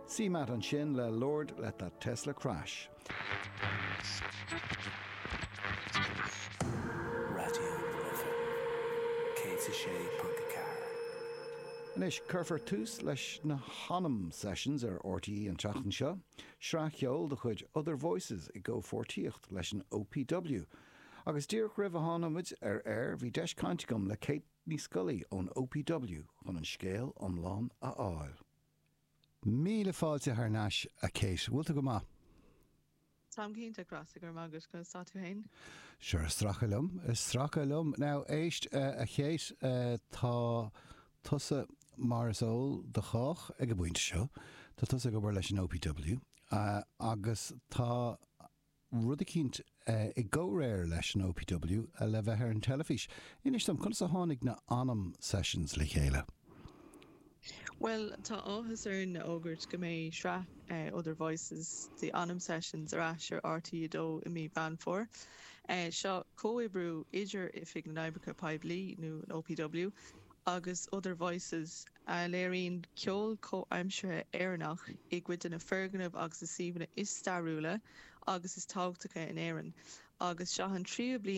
CMAT ansin le Lord Let That Tesla Crash. Raidió na Life 106.4. Anois, cuirfear tús leis na hAnam Sessions ar RTÉ an tseachtain seo, sraith cheoil de chuid Other Voices i gcomhpháirtíocht leis an OPW. Agus díreach roimh a tháinig muid ar aer, bhí deis caint agam le Kate Ní Scolaí ón OPW chun an scéal iomlán a fháil. Míle fáilte thar n-ais, a Kate. Bhfuil tú go maith? Táim go hiontach, Rossa, go raibh maith agat. Conas tá tú féin? Sure, ag stracadh liom, ag stracadh liom. Now, éist, a Kate, tá tusa, mar is eol do chách ag an bpointe seo, tá tusa ag obair leis an OPW, agus tá rud eicínt i gcomhréir leis an OPW le bheith ar an teilifís. Inis dom, conas a tháinig na Anam Sessions le chéile? Bhuel, tá áthas orainn a fhógairt go mbeidh sraith Other Voices, The Anam Sessions ar ais ar RTÉ 2 i mí Mheán Fómhair. Seo comhoibriú idir Oifig na nOibreacha Poiblí, nó an OPW, agus Other Voices, a léiríonn ceol comhaimseartha Éireannach i gcuid de na foirgnimh agus na suíomhanna is stairiúla agus is tábhachtacha in Éirinn. Agus seo an tríú bliain.